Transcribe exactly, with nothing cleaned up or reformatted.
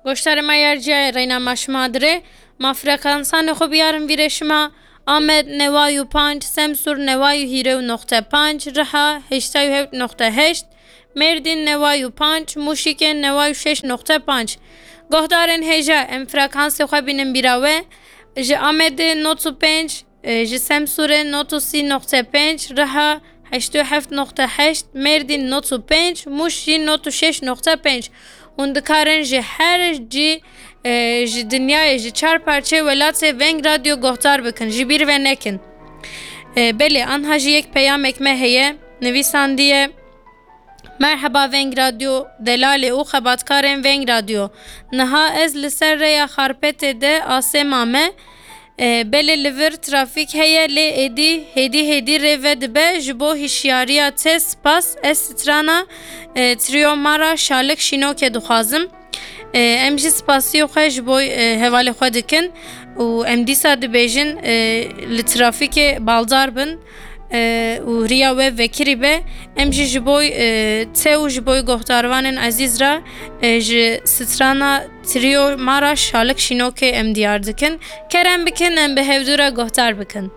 Goştarê me yer ciyayê reyna me şima dirê. Ma frekansanê xwe biyarin vîrê şima. Amed neway û panc, Semsûr neway û hîrê û noqte panc, Riha heştay û heft noqte heşt, Mêrdîn neway û panc, Mûşîkê neway û şeş noqte panc. Gohdarên hêja, em frekansê xwe bînin bîra we. Ji Amedê not û pênc, e, ji Semsûrê not û sî noqte pênc, Riha heştê û heft noqte heşt, Mêrdîn not û pênc, Mûş jî not û şeş noqte pênc. Hûn dikarin ji her cî, e, ji dinyayê, ji çar parçeyê welatê Veng Radyo gohdar bikin, ji bîr ve nekin. E, belê, anha jî yek peyamek me heye, nivîsandiye, Merheba Veng Radyo, delalê û xebatkarên Veng Radyo. Niha ez li ser rêya Xarpetê de asê mame. E, belê li vir trafîk heye, lê êdî hêdî hêdî rê vedibe. Ji bo hişyariya te spas, ez strana, e, Trio Mara Şalik Şînokê dixwazim. E, em jî spasiyê xwe ji bo, e, hevalê xwe dikin û em dîsa dibêjin, e, li trafîkê baldar bin, e, û riya we vekirî be. Em jî ji bo, e, te û ji bo gohdarvanên ezîz re, e, ji strana Trio Mara Şalik Şînokê em diyar dikin. Kerem bikin, em bi hevdû re gohdar bikin.